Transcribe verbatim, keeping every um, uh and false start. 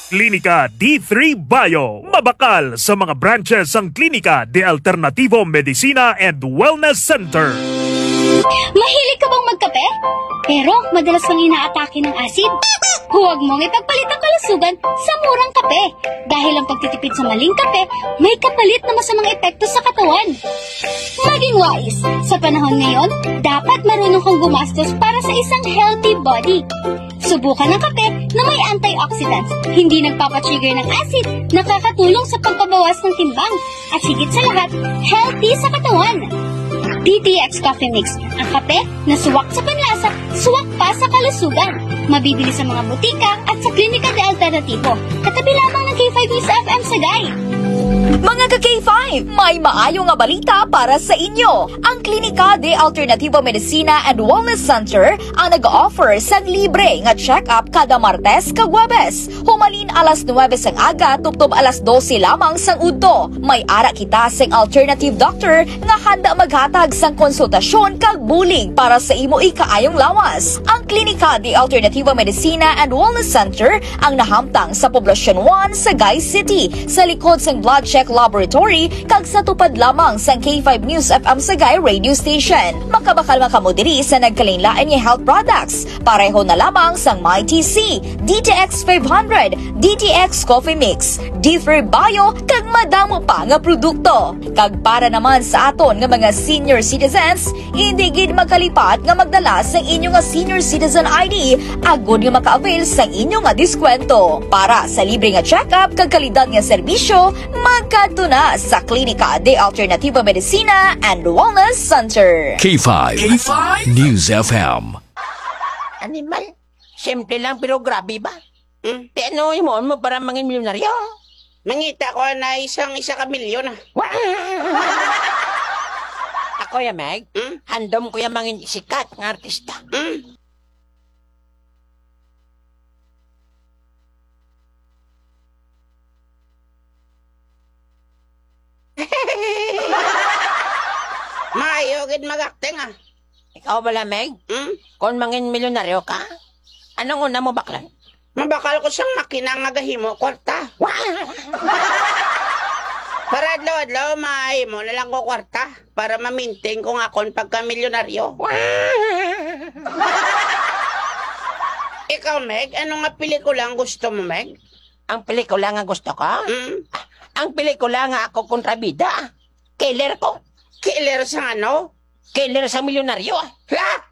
Klinika D three Bio. Mabakal sa mga branches ang Klinika de Alternativo Medicina and Wellness Center. Mahilig ka bang magkape? Pero madalas kang inaatake ng asid? Huwag mong ipagpalit ang kalusugan sa murang kape. Dahil ang pagtitipid sa maling kape, may kapalit na masamang epekto sa katawan. Maging wais. Sa panahon ngayon, dapat marunong kang gumastos para sa isang healthy body. Subukan ang kape na may antioxidants, hindi nagpapatrigger ng acid, nakakatulong sa pagpabawas ng timbang, at higit sa lahat, healthy sa katawan. D T X Coffee Mix, ang kape na suwak sa panlasa, suwak pa sa kalusugan. Mabibili sa mga butika at sa Klinika de Alternativo, katabi lamang ng K five News F M Sagay. Mga ka-K five, may maayo nga balita para sa inyo. Ang Klinika de Alternativo Medicina and Wellness Center ang nag-offer sang libre nga check-up kada Martes kag Huwebes, humalin alas nuwebe sang aga tubtob alas dose lamang sang udto. May ara kita sing alternative doctor nga handa maghatag sang konsultasyon kag bulig para sa imo ikaayong lawas. Ang Klinika de Alternativo Medicina and Wellness Center ang nahamtang sa Poblacion one, Sagay City, sa likod sang Blood Check Laboratory kag sa tupad lamang sang K five News F M Sagay Radio Station. Makabakal man kamo diri sa nagkalainlain nga health products, pareho na lamang sang My T C, D T X five hundred, D T X Coffee Mix, D three Bio, kag madamo pa nga produkto. Kag para naman sa aton nga mga senior citizens, hindi gid magkalipat nga magdala sang inyo nga senior citizen I D agod nga maka-avail sang inyo nga diskwento. Para sa libre nga check-up kag kalidad nga serbisyo, magkadto na sa Klinika de Alternativo Medicina and Wellness Center. K five K five News F M. Animal. Simple lang pero grabe ba? Hmm? Ti ano himuon mo para mangin milyonaryo? Mangita ko na isang isa ka milyon, ah. Wa-, ako ya, Meg. Hmm? Handom ko ya mangin sikat nga artista. Hmm? Maayo gid mag-acting, ah. Ikaw bala, Meg? Hmm? Kon mangin milyonaryo ka, anong una mo baklan? Mabakal ko sang makina nga gahimo kwarta. Wa-, para adlaw-adlaw mahimo na lang ko kwarta para ma-maintain ko nga akon pagkamilyonaryo. Wa-, ikaw, Meg, ano nga pelikula ang gusto mo, Meg? Ang pelikula nga gusto ko? Mm. Ang pelikula nga ako kontrabida. Killer ko. Killer sa ano? Killer sa milyonaryo. La!